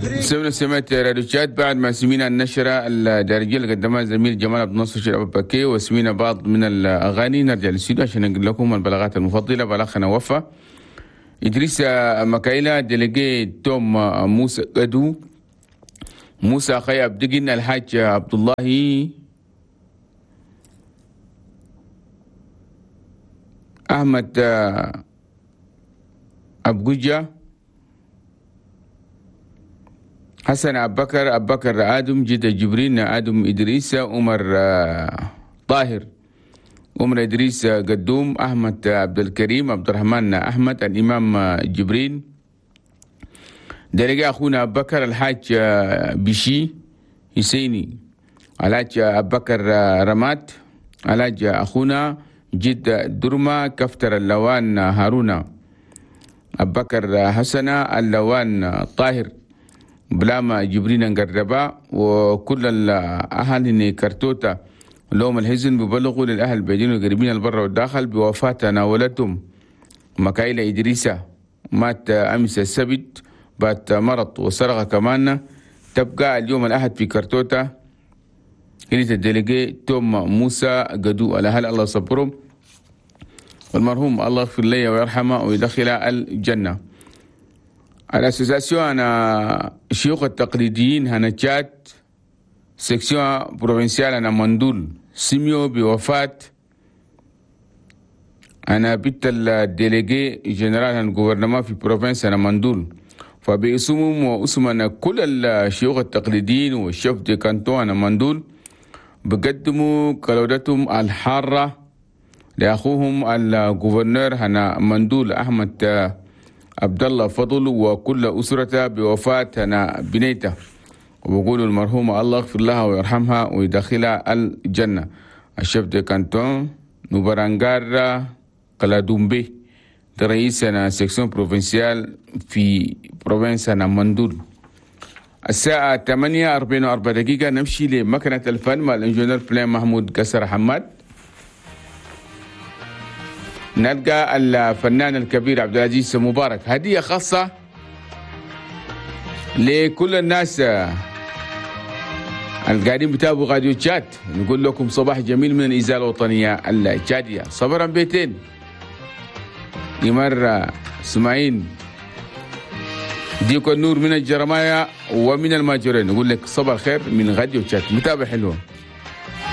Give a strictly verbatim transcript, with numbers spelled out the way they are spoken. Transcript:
سمعنا سمعت راديو تشاد بعد ما سمينا النشرة الدارجية اللي قدمها زميل جمال عبد الناصر شراب بكي، وسمينا بعض من الأغاني. نرجع للاستوديو عشان نقول لكم البلاغات المفضلة. بلاغنا وفا إدريس مكايلة، délégué توم موسى قدو، موسى خي عبدقن، الحاج عبد الله، أحمد أبجوجة، حسن أبو بكر، أبو بكر آدم، جد جبرين آدم، إدريس عمر طاهر، عمر إدريس قدوم، أحمد عبد الكريم، عبد الرحمن أحمد، الإمام جبرين، délégué أخونا أبو بكر، الحاج بشي حسيني، الحاج أبو بكر رمات، الحاج أخونا جد درما، كفتر اللوان هارونا، أبو بكر حسنة، اللوان طاهر، بلاما جبرين نقربا، وكل الأهل كرتوتا لهم الحزن ببلغوا للأهل البعيدين والقريبين البر والداخل بوفاة ناولتهم مكايلة إدريسة، مات أمس السبت بعد مرض وسرقة كمان. تبقى اليوم الأحد في كرتوتا كنيسة ال délégué توم موسى قدو. الأهل الله صبرهم، والمرحوم الله يغفر لي ويرحمه ويدخل الجنة. ال association هنا الشيوخ التقليديين هنا تشاد section provinciale هنا مندول سميو بوفاة أنا بنت ال délégué général هنا ال gouvernement في province هنا مندول، فباسمهم واسم كل الشيوخ التقليديين وال chefs de canton هنا مندول بقدموا كلودتهم الحارة لأخوهم ال gouverneur هنا مندول أحمد عبد الله فضل وكل أسرته بوفاة هنا بنيته، وبقولوا المرحومة الله يغفر لها ويرحمها ويدخلها الجنة. ال chef de canton نوبرانجارا قلادومبي رئيس هنا section provinciale في province هنا مندول. الساعة ثمانية أربعين وأربع دقيقة نمشي لمكنة الفن مع ال ingénieur بلين محمود قصر حماد. نلقى الفنان الكبير عبد العزيز مبارك، هدية خاصة لكل الناس القاعدين بتابعوا راديو تشاد. نقول لكم صباح جميل من الإذاعة الوطنية التشادية. صبرا بيتين يمر اسماعيل ديكو النور من الجرمايا ومن الماجورين. نقول لك صباح الخير من راديو تشاد. متابع حلوة.